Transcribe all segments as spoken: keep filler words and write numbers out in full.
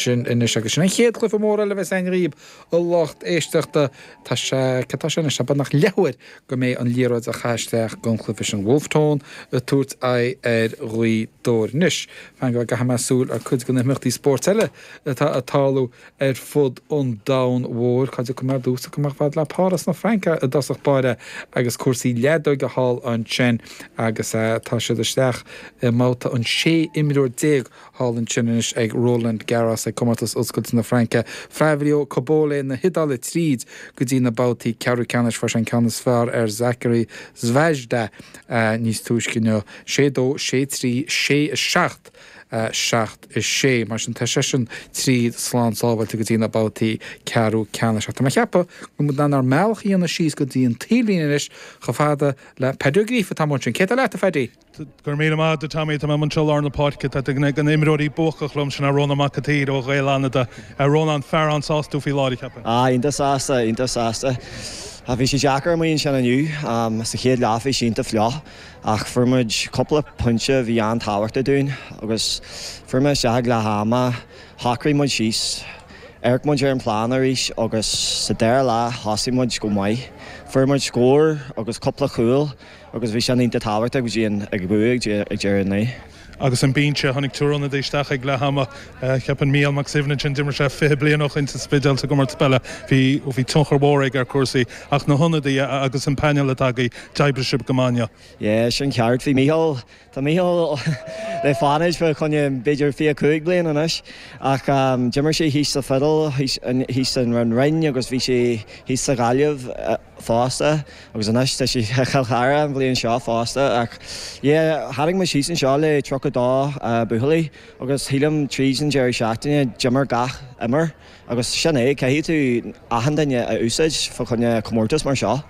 Sin anois agus sin an chéad chluiche mór eile a bheas againn dhaoib, a lucht éisteachta. Tá sé, cad tá sé anois, tá beagnach leathuair go mbeidh an liathróid á caitheamh isteach don chluiche sin. Wolfe Tone ag tabhairt aghaidh ar Ghaoth Dobhair. Anois, fan go gcaithfidh mé súil ar cuid de na himeachtaí spóirt eile atá ag tarlú ar fud an domhain mhóir. Cá dtiocfaidh mé ar dtús? Tiocfaidh mé chomh fada le Páras na Fraince i dtosach báire agus cúrsaí leadóige thall ansin agus tá siad isteach i mbabhta an sé imreoir déag thall ansin anois ag Roland Garros ag Comórtas Oscailte na Fraince. Flavio Cobolli na hIodáile tríd go dtí na babhtaí ceathrú ceannais. Fuair sé an ceann is fearr ar Zachary Svajda níos túisce inniu, sé dó, sé trí, sé a seacht, seacht a sé. Mar sin tá seisean tríd slán sábháilte go dtí na babhtaí ceathrú ceannais. Ach tá mé ag ceapadh go bhfuil muid in ann ár mbealach a dhéanamh síos go dtí an taobhlíne anois chomh fada le Paddy Ó Gríofa atá ansin. Cé tá leat, a Phaddy? Go raibh míle maith agat, a Tommy. Tá mé anseo i lár na páirce. Tá duine de na himreoirí buacach liom, sin é Rónán Mac an tSaoir ó Ghaeil Fhánada. Rónán, fear an-sásta faoi láthair, ceapaim. Ah, iontach sásta, iontach sásta. Bhí sé deacair amuigh ansin inniu. Sa chéad leath bhí sé iontach fliuch ach fuair muid cúpla pointe a bhí an-tábhachtach dúinn agus fuair mé isteach ag leath ama, shocraigh muid síos, amharc muid ar an plean arís agus sa dara leath thosaigh muid go maith. Fuair muid scór agus cúpla cúl Agus bhí sin iontach tábhachtach go dtí an ag bua ag deireadh an lae. Agus an binse, tháinig triúr ionadaí isteach ag leath ama. Cheapfainn Mícheál Mac Suibhne ansin, d'imir sé fiche bliain ó shoin sa Spidéal sa gcomórtas peile. Bhí bhí tionchar mhór aige ar chúrsaí. Ach na hionadaithe agus an painéal atá agaibh, d'oibrigh sibh go maith inniu. Yeah, sin ceart. Bhí Mícheál, tá Mícheál le Fánaid fá choinne b'fhéidir fiche cúig bliain anois. Ach d'imir sé thíos sa Spidéal, thíos san Rinn agus bhí sé thíos sa Ghaillimh. fosta agus anois tá sé i Chill Chartha an bhliain seo fosta ach yeah tháinig muid síos anseo le tríocha dó buachaillí agus shílim tríd an deireadh seachtaine d'imir gach imreoir agus sin é caithfidh tú achan duine a úsáid fá choinne comórtas mar seo.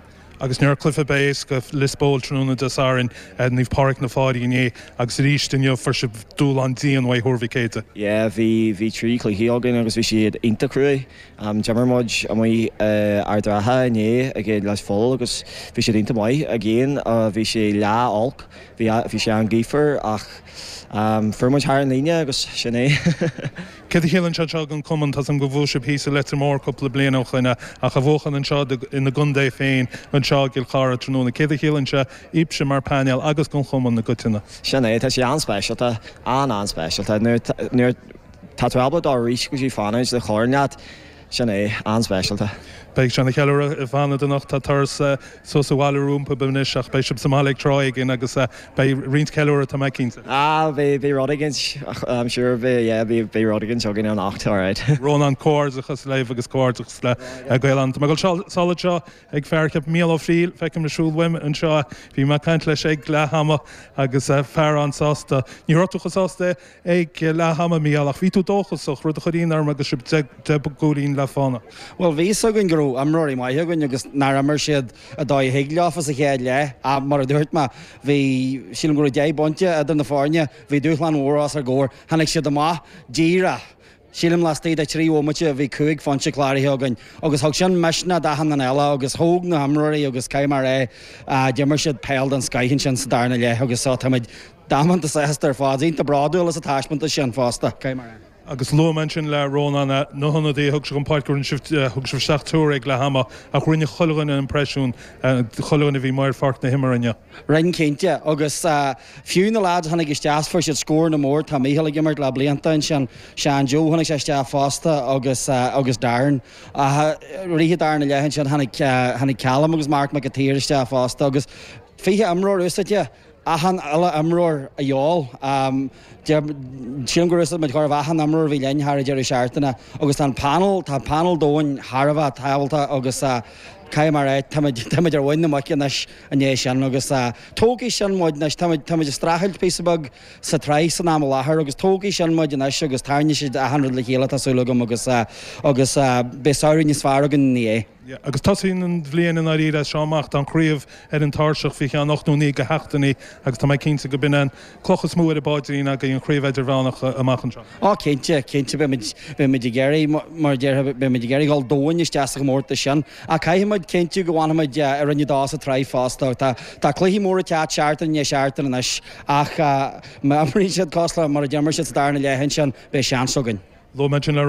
Agus ní raibh cluiche ar bith éasca, Lios Póil tráthnóna Dé Sathairn, Naomh Pádraig na Fáilí inné agus arís inniu fuair sibh dúshlán dian uaidh Thuar Mhic Éadaigh. Yeah bhí bhí trí chluiche againn agus bhí siad iontach cruaidh. D'imir muid amuigh i Ard an Rátha inné ag Lios Póil agus bhí siad iontach maith. Again bhí sé lá olc, bhí bhí sé an-ghaofar ach fuair muid thar an líne agus sin é. Céard a chiallaíonn sé seo don chumann? Tá's agam gur bhuaigh sibh thíos i Leitir Móir cúpla bliain ó shoin ach a bhuachan anseo ina gcontae féin anseo i gCill Chartha tráthnóna, céard a chiallaíonn sé daoibhse mar phainéal agus don chumann i gcoitinne? Sin é, tá sé an-speisialta, an-an-speisialta. Nuair nuair. Tá tú ábalta dul arís go dtí Fánaid le corn leat, sin é, an-speisialta. Beidh sé ina cheiliúradh i bhFánaid anocht. Tá turas suas abhaile rompu anois ach beidh sibh sa mbaile ag tráth éigin agus beidh roinnt ceiliúradh, tá mé cinnte. Ah, beidh, beidh rud éigin, I'm sure, beidh, yeah, beidh, beidh rud éigin againn anocht, alright. Rónán, comhghairdeachas libh agus comhghairdeachas le Gaeil Fhánada. Tá mé ag dul sall anseo ag fear, ceapaim, Mícheál Ó Fríl, feicim ag siúl uaim anseo é. Bhí mé ag caint leis ag leath ama agus fear an-sásta. Ní raibh tú chomh sásta Ag leath ama, Mícheál, ach bhí tú dóchasach, rud a chuir ionadh orm agus sibh deich gcúilín le fána. Bhuel, bhí fhios againn go raibh imreoirí maithe againn agus nár imir siad an dóigh a thig leofa sa chéad leath ach mar a dúirt mé, bhí, sílim go raibh deich bpointe idir na foirne, bhí dúshlán mhór os ár gcomhair. Tháinig siad amach díreach, sílim laistigh de trí bhomaite bhí cúig phointe cláraithe againn agus thug sin misneach d'achan duine eile agus thóg na himreoirí agus caithfidh mé a rá, d'imir siad peil den scoith ansin sa darna leath agus so táimid Damanta sásta ar fad. Iontach bródúil as an taispeántas sin fosta, caithfidh mé a rá. Agus luaigh mé ansin le Rónán na hionadaithe a thug sé chun páirce, rinne sibh, thug sibh isteach triúr ag leath ama ach rinne chuile dhuine impreisiún, chuile dhuine a bhí amuigh ar pháirc na himeartha inniu. Rinne cinnte. Agus fiú na lads a tháinig isteach fuair siad scóranna mór. Tá Mícheál ag imirt le blianta ansin, Seán Joe tháinig sé isteach fosta agus agus Darren. Ach i rith an darna leath ansin tháinig tháinig Callum agus Mark Mac an tSaoir isteach fosta agus fiche imreoir úsáidte. Achan uile imreoir a dhíobháil. Sílim gur úsáid muid chóir a bheith achan imreoir a bhí linn thar an deireadh seachtaine agus tá an panel, tá panel domhain thar a bheith tábhachtach agus caithfidh mé a rá, táimid, táimid ar mhuin na muice anois i ndiaidh sin agus tógfaidh sin muid anois, táimid, táimid ag streachailt píosa beag sa tsraith san am i láthair agus tógfaidh sin muid anois agus tarraingeoidh siad achan rud le chéile tá súil agam agus, agus beidh samhradh níos fearr againn ina dhiaidh. Agus tosaíonn an bhliain i ndáiríre as seo amach. Tá an chraobh ar an tairseach faoi cheann ocht nó naoi de sheachtainí agus tá mé cinnte go b'in an cloch is mó ar an bpaidrín agaibh, an chraobh idirmheánach amach anseo. Á cinnte, cinnte beimid, beimid ag iarraidh, mar a déarfá, beimid ag iarraidh dhul domhain isteach sa chomórtas sin. Ach caithfidh muid cinntiú go bhfanfaimid i Roinn a Dó sa tsraith fosta. Tá, tá cluichí móra ag teacht seachtain i ndiaidh seachtaine anois ach má imríonn siad cosúil le mar a d'imir siad sa darna leath ansin, beidh seans againn. Luaigh mé sin le